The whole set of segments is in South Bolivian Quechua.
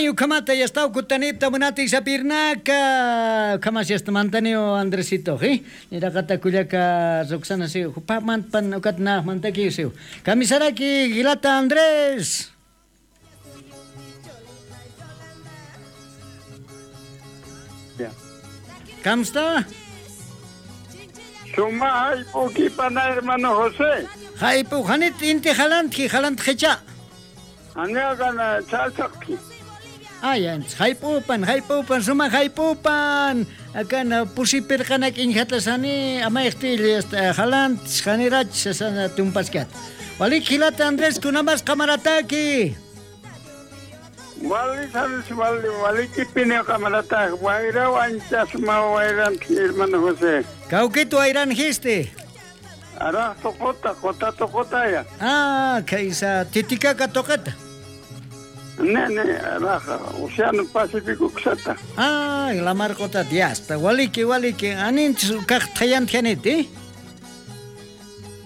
Ani ukamata yastau kutanipta munati sapirnaka kamas yasta mantanio Andresito, ¿eh? Nirakata kuyaka Roxana siu, pa man pan ukat na mantaki siu. Kamisaraki Gilata Andrés. Ya. Kamsta? Suma haypu pana hermano José. Haypu hanit inti halantki halantqicha. Aniagana chalchaqki. Ay, haypupan, haypupan, suma haypupan. Akana pusipirqanak inhatasani amayqtil este halant hanirach sana tumpaskat. Walik hilata Andrés kunamas kamarataki. Wali sabes wali waliki pine kamarata wayra wancha suma wayran hermano José. Kaukitu ayran histe. Ara tokota kota tokota ya. Ah, kaisa Titicaca tokata. Ne ne raja Océano Pacífico ksata. Ah, la marcota diasta. Waliki waliki anin kaq thayan thaniti.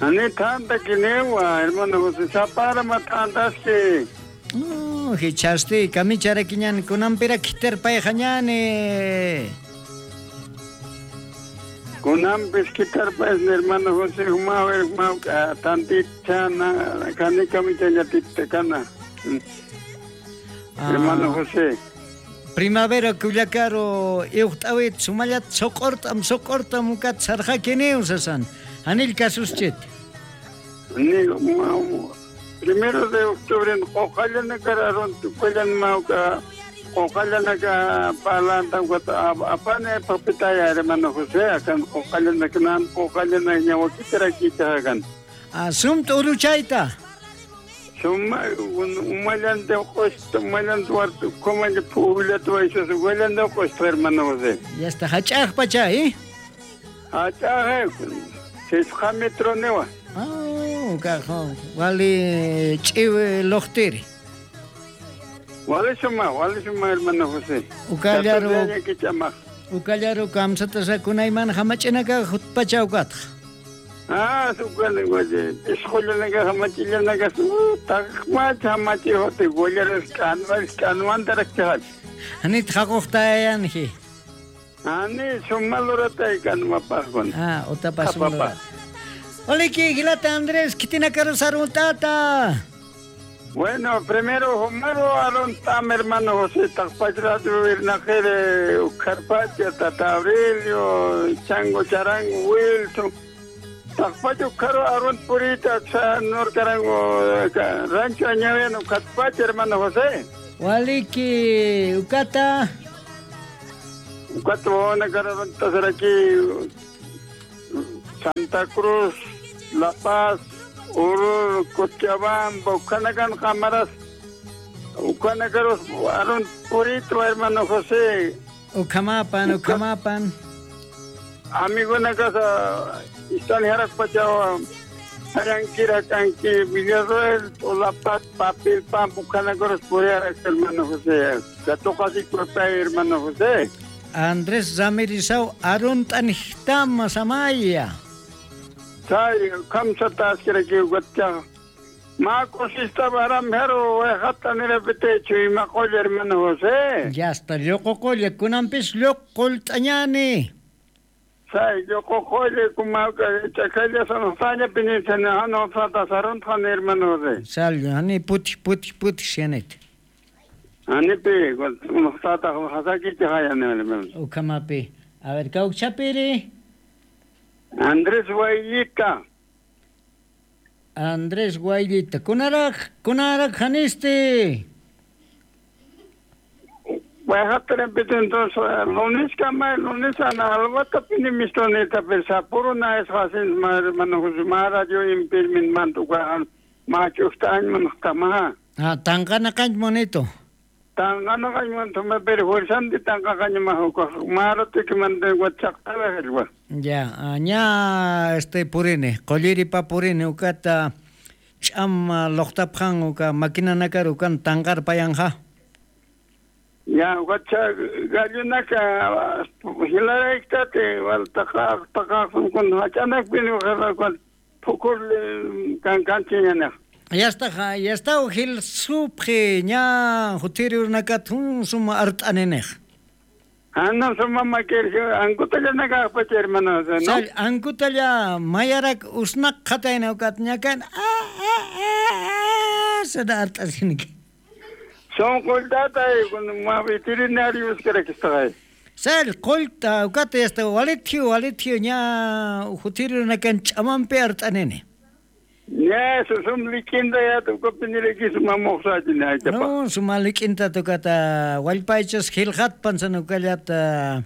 Ani tanta kinewa hermano José sapara matantaski. No, hichasti kamicharakiñan kunampira kiterpay hañani. Kunampis kitarpay hermano José humau humau tantichana kani kamichayatitekana. Hermano José. Primavera kuyakaro iuqtawit sumallat soqortam soqortam ukat sarqakini usasan. Anil kasuschit. Ni primero de octubre en Ojalá cararon tu cuellan mauca ojalá naka palantan apane papitaya hermano José akan ojalá nakanan ojalá na ñawakitara kichagan. Asum uruchayta. Suma umalan de costa umalan duarte como el pueblo tu eso huelan de costa hermano José. Ya está hachaj pacha, ¿eh? Hachaj, 6 metros newa. Ah, cajón. Wali chive lohtiri. Wali suma hermano José. Ukallaru. Ukallaru kamsata sakunayman hamachinaka hutpacha ukatqa. Ah, sukale goye. Escuela hamachillanaga su taqma hamachi hote gollaras kanwas kanwantarak. Anit haqoqtayanji. Ani sumalurata kanmapaqwan. Ah, otapa sumalurata. Oliki Gilata Andrés, kitina karusaruntata. Bueno, primero Homero Arontam, hermano José, Taqpachrato, Virnajere, Carpatia, Tata Aurelio, Chango Charango, Wilson. Taqpacho Caro Aron Purita, Nor Carango, Rancho Añaviano, Carpacha, hermano José. Waliki, Ucata. Ucata, Bona, Cararonta, aquí, Santa Cruz, La Paz, Oruro, Cochabamba, Ucanacan, Cámaras, Ucanacaros, Aron Purito, hermano José. Ucamapan, Ucamapan. Amigo en la casa, están Jaraspachawa, Aranquira, Canqui, Villarroel, La Paz, Papel, Pam, Ucanacaros, Puriara, hermano José. La toca así, hermano José. Andrés Ramirizau, Arun Tanjtama, Samaya. Sai, kamsa taskira ki ugatcha. Ma cosista baram hero, hata nirepite ima qolla hermano José. Ya está, lluqu kunampis lluqul t'añani. Sai, lluqu qolla kumauka chakalla sanusanya pinisana hano sata sarunthan hermano José. Sal, ani puti puti puti sianet. Ani pi, sata hasaki chayani hermano. Ukamapi. A ver, kaukchapiri. Andrés Guayllita. Andrés Guayllita. Kunarak, kunarak haniste. Entonces, lunes kama, lunes ana alwata pini mistoneta pensapuro na es hasin hermano José Mara yo impirmin mantuka machusta man tama. Ah, tangana kanch monito. Tangana kanch monito me perfuersan di tangka kanch mahuka mara tikmante guachaqta helwa. Ya, ña este purine, qolliri pa purine ukata ch'am loqtapqan uka makina nakar ukan tanqar payanja. Ya, ukacha gallunaka hilaraytate waltaqa taqaqun kun hachanak pini uqaraqwan pukur kankanchiñanaq. Yasta yasta hil supje ña hutiri urnakat hun suma art'aninej. Ana suma makir ankutalla nakaqpacha hermano José, ¿no? Sal ankutalla mayarak usnaq qhatayna ukat ñakan a a a sada art'asinki. Son qultata ma veterinario uskarakistaqay. Sal qulta ukata yasta walithiu walithiu ña hutiri urnakan ch'amanpi art'anini. Ya, sum likinda ya tukupiniriki suma moqsachina aychapa. No, suma likinta tukata wallpaychas qillqatpan sanukallata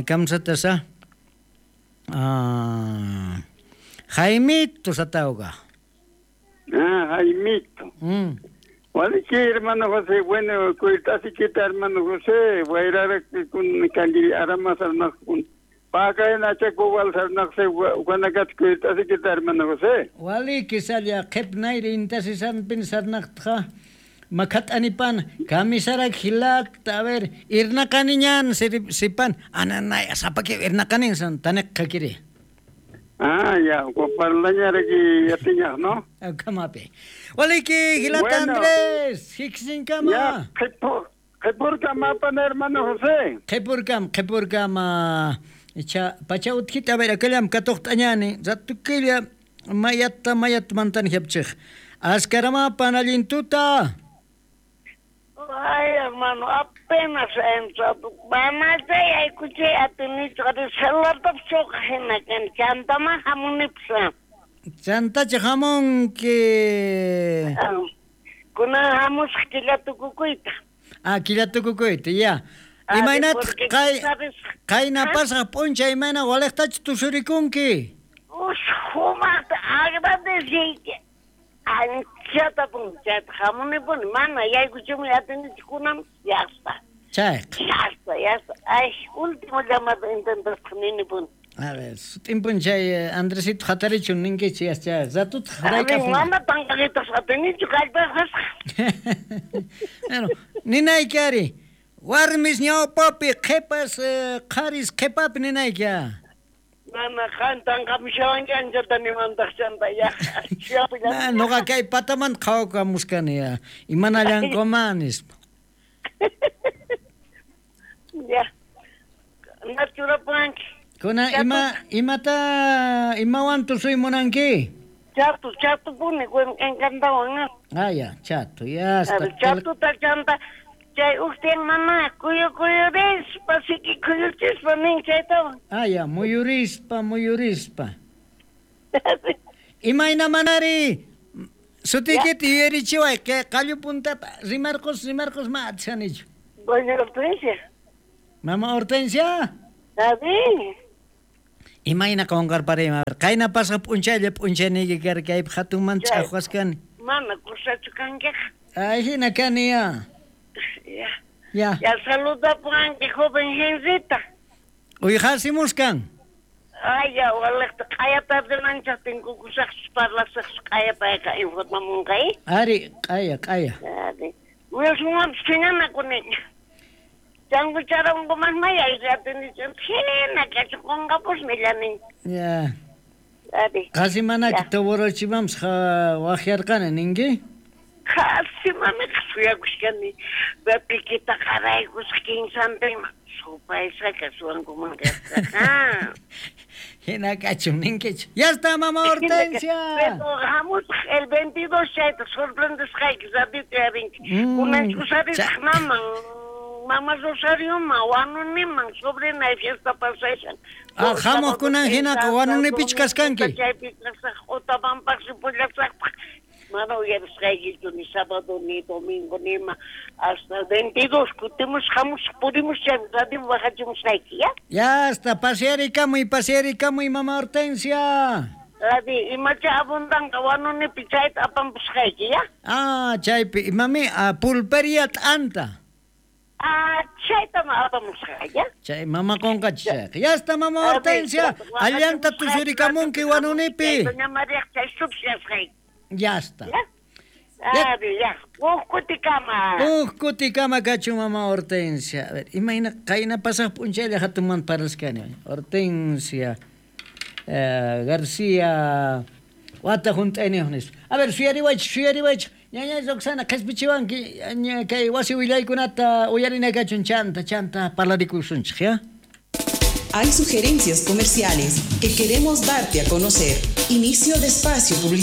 kamsatasa. Jaimito satauga. Ah, Jaimito. Waliki hermano José, bueno, kuitasiquita hermano José, wayrara kun kangiri arama sarnaq kun. Pakay nachakubal sarnaq se wanakat kuitasiquita hermano José. Waliki salla qhipnayri intasisan pin sarnaqtqa makhat anipan kamisarak hilat a ver irnaqaniñan sipan ananay sapaki irnaqanin san taniq qakiri. Ah, ya, parlañaraki yatiñaq, ¿no? Kamapi. Waliki hilat Bueno. Andrés, hiksinkama. Ya, qhipurkamapan hermano José. Qhipurkam, qhipurkama. Icha pacha utkita a ver akallam katuqt'añani ratukilla mayata mayat mantan hiapchij. Askaramapan allintuta. Ay, hermano, apenas entrado. Mamá, escuché a tu nicho de celular, choca hina kan chantama hamunipsa. Chantacha hamunki. Kuna hamus killa tukukuyta. Ah, killa tukukuyta, ya. Imaynataq Porque kay sabes, qayna pasaq p'unchay imayna waliqtachu tusurikunki? Sumaqta agradeciyki. Anchata punchata hamunipuni mana yaykuchumi atinichu kunan yasta. Chayqa. Yasta, yasta. Ay, último llamado intentasqa ninipuni. A ver, sutin p'unchay Andresito hatarichun ninkichi yascha ratutaq A ver, rayk'apun. mana panqaritas atinichu kallpasqasqa. Bueno, ninayki ari. Warmis ñawpapi qhipas qharis qhipapi ninayki. Mana qan tanqamushawanki anchata nimantaq chanta ya. Na, noqa kay pataman qhawakamuskani ya. Imanallankuman nispa. Ya. Nachurapuanki. Kuna ima imata imawan tusuy munanki? Chato, chato puni, encantawan. Ah, ya, chato, ya A está. ver, chatuta chanta chay uqtiyan mana kuyu kuyurispa siki kuyuchispa nin chaytawan. Ah, ya, muyurispa, muyurispa. Imayna manari? Sutiykita yuyarichiway, kay qallu puntata rimarqus, rimarqus ma atishanichu. Doña Hortensia. Mama Hortensia? Abi. Imayna qunqarparay, a ver, qayna pasaq p'unchaylla p'unchayniyki karqa kaypi hatunmanta Chay. ch'aqwasqani. Mana kusachu kankiqa. Ay, hina kani ya. Ya. Ya. Ya saludapuanki joven Henrita. Uyqasimuskan. Ay, ya, waliqta q'aya tardenanchaq tinkukusaqchus parlasaqchus q'aya payqa informamunqa, eh? Ari, q'aya, q'aya. Ari. Wilsonwanpis phiñanakuniña. Changucharankuman maya atinichu hina kachuqunqapusmi Ya. Ari. Qasi manaki Ya. toborochimampas waqyarqani ninki? Qasi mamiqa suyakushkani. Pikita qaraykusqa kinsantinman. Supaysqa suwankuman kasqa. Hina kachun ninkichu. Ya está, mama Hortensia. Pero hamusaq el 22 chayta sorprendesqayki ratito yarinki. Kunan ch'usarisaq maman. Mama Rosarioman, Wanuniman, sobrina fiesta pasashan. Ah, hamuq kunan hinaqa Wanunipichu kaskanki? Chaypi kasaq, Otapampaqsi pullasaqpaq. Mana uyarisqaykichu ni sábado ni domingo ni ima. Hasta 22 kutimus hamusaq purimus chay radio bajachimusqayki, ya? Ya está, pasearikamuy, pasearikamuy, mama Hortensia. Adi, imacha abundanqa Wanunipi chayta apampusqayki, ya? Ah, chaypi, imami, pulperia t'anta. Ah, chaytam apamusqa, ya? Chay mama qunqachi chayqa. Ya está, mama Hortensia. Allanta tusurikamunki Wanunipi. Doña María chay subsiasqayki. Ya está. Ya? Adi, ya. Huk kutikama. Huk kutikama kachun mama Hortensia. A ver, imayna qayna pasaq p'unchaylla hatunmanta parlasqani. Hortensia García Wata junt'ayniyuq nispa. A ver, suyariwaychik, suyariwaychik. Ñañay Roxana, qhispichiwanki kay wasi willaykunata uyarina kachun chanta, chanta parlarikusunchik, ya? Hay sugerencias comerciales que queremos darte a conocer. Inicio de espacio publicitario.